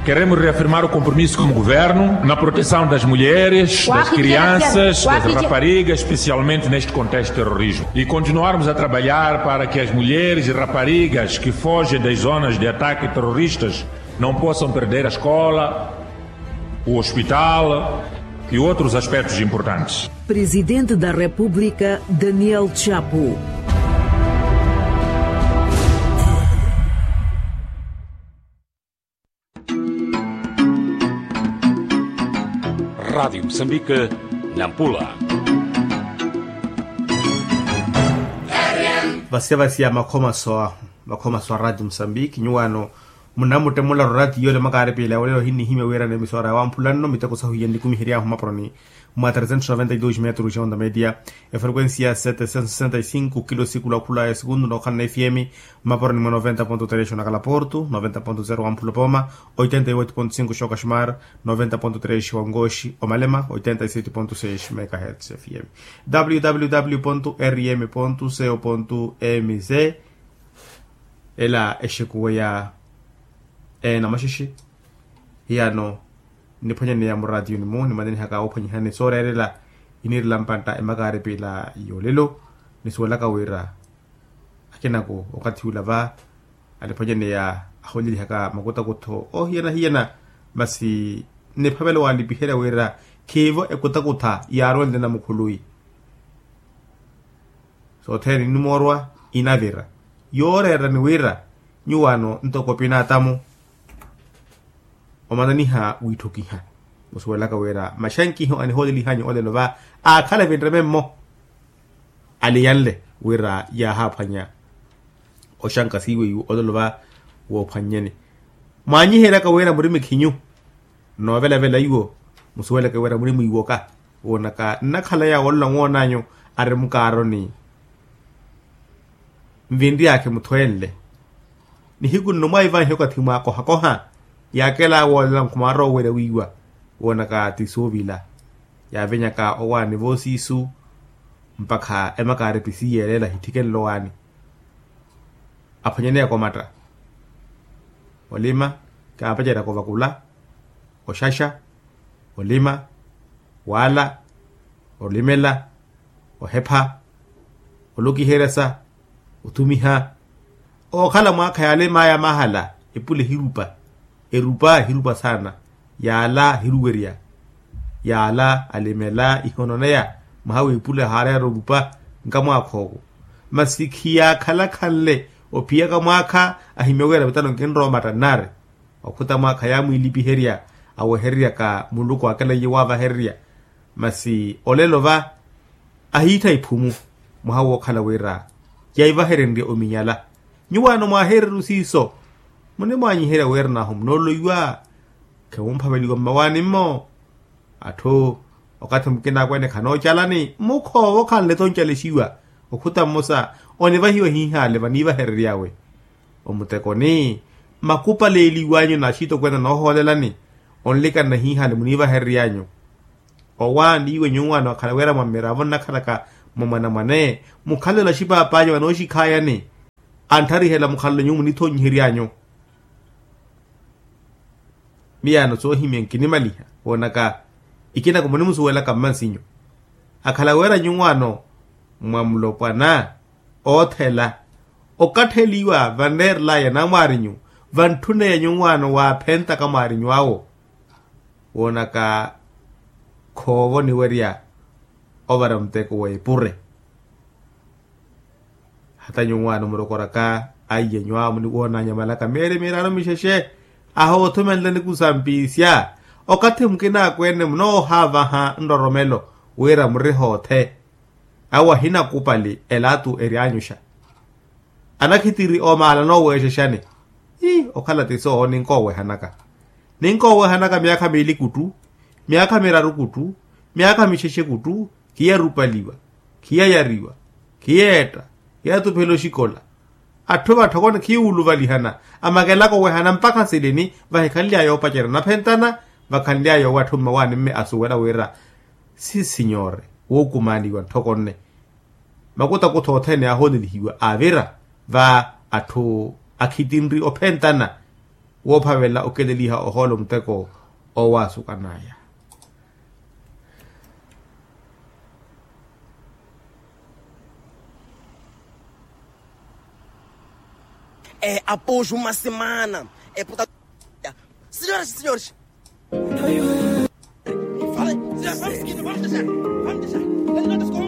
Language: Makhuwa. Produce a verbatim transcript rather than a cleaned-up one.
Queremos reafirmar o compromisso como governo na proteção das mulheres, das crianças, das raparigas, especialmente neste contexto de terrorismo. E continuarmos a trabalhar para que as mulheres e raparigas que fogem das zonas de ataque terroristas não possam perder a escola, o hospital e outros aspectos importantes. Presidente da República, Daniel Chapo. Radiu musambike, nampula. Vasiya vasiya makhomaso ahu, makhomaso a radiu musambike nyuwaano, munamuttemula rorati yoole makaaripila olelo ohinnihimya wiirana emisora ya wamphula nno miteko sahu iye nnikumiheryaahu mmaporoni mwa tresentos noventa y dos metros ya onda media, efrequencia setecentos sessenta y cinco kilo sikulu akhula ya sekundu nookhala na fm, mmaporoni mwa noventa ponto tres onakala porto, noventa ponto zero wamphula pooma, oitenta y oito ponto cinco xokashmar, noventa ponto tres wangoxi omalema, oitenta y sete ponto seis megahertz fm. Www rm co mz. Ela exekuweya ena maxixi. Hiyano nniphwanyaneya muratiyuni-mu nimanenihaka ophwanyihani sooreerela, inirela mpantta emakaaripila yoolelo. Nisuwelaka wira akinako okathi ula va aliphwanyaneya ahoolelihaka makutakutho oohiyana-hiyana. Masi nniphavela walipiherya wira khiivo ekutakutha yaaronle namukhului. Sothene inimoorwa inavira yooreerani wira nyuwaano ntoko pinatamu omananiha wiitthukiha. Musuwelaka wira maxankiho anihoolelihanyu olelo va aakhala vinreme mmo. Aliyanle wira yaahaphwanya oxanka siiwe iwo olelo va woophwannyeni. Mwaanyiheryaka wira muri mikhinyu noovelavela iwo. Musuweleke wira muri mwiiwoka woonaka nnakhala yaawo olola nwoonanyu ari mukaaroni. Nvinryakhe muthwenle nihiku nno mwaivanhe okathi mwaakohakoha. Yaakela woolela nkhumaaroowerya wiiwa woonaka ti suuvila. Yaavenyaka owaani voosiisu mpakha emakaari pisiyeelela hithikenle owaani. Aphwanyaneyaka omatta olima kaapaceryaka ovakula, oxaxa, olima, waala, olimela, ohepha, olokiheryasa, othumiha. Ookhala mwaakha yaalimaya mahala epule hirupa. Erupa hirupa saana. Yaala hiruwerya. Yaala alimela ihononeya mwaha w'epule ahaareera orupa. Nkamwaakha owo masi khiyaakhalakhanle ophiyaka mwaakha ahimya wira vitano nkinrowa omatta nnaari. Okhuta mwaakha yaamwiilipiherya awehereryaka muluku akelaiye waavahererya. Masi olelo va ahiittha iphumu mwaha wookhala wira yaivaherenrye ominyala. Nyuwaano mwaaheereru siiso munimwaanyiherya wira nahu munooloiwa. Khemumphaveliwa mmawaani-mmo. Atthu okathi mukina akweene khanoocalani mukhoova okhanle-tho oncalexiwa. Okhuta mmosa onivahiwa hiihaale vaniivaherery'awe omutekoni. Makupaleeliw'anyu naxitokwene noohoolelani onlikanna hiihaale muniivaherery'anyu. Owaani iwe nyuwaano akhala wira mwa mmiravo nnakhalaka mwa mwanamwane mukhalelo axipaapanyu vanooxikhaayani. Antharihela mukhalelo nyuwo munithonyihery'anyu. Miyaano soohimya nkinimaliha woonaka ikinako munimusuwelaka mmansinyu. Akhala wira nyuwaano mwa mulopwana oothela okatheliwa vanreerel'aya namwaarinyu vantthun'eya nyuwaano waaphentaka mwaarinyu awo. Woonaka khoova oniwerya ovara muteko w'epure. Hata nyuwaano murokoraka aiye nyuwaano muniwoonanyamalaka mieri miraru mixexe. Ahoothumenleni kusampiisya okathi mukina akweene munoohaavaha nroromelo wira murihoothe. Awo ahinakupali elaatu ery'anyuxa anakhitiri omaala nooweexexani. Ii okhala ti soowo ninkoowehanaka. Ninkoowehanaka myaakha miili kuttu myaakha miraru kuttu myaakha mixexe kuttu. Khiyarupaliwa khiyayariwa khiyeetta khiyatuphela oxikola. Atthu vatthokoni khiyuuluvalihana amakelaka owehana mpakha silini vahikhanly'aya oopacerya naphentana. Vakhanly'aya owo atthu mmawaani mme asuwela wira si sinyore wookumaaniwa ntthoko nne. Makutakutho othene aahoonelihiwa aavira va atthu akhitinri ophentana. woophavela okeleliha ohoolo muteko owaasukanaya. Apoxu masimana eputa. Senhores, senhores. Vamos, vamos, vamos deixar, vamos deixar.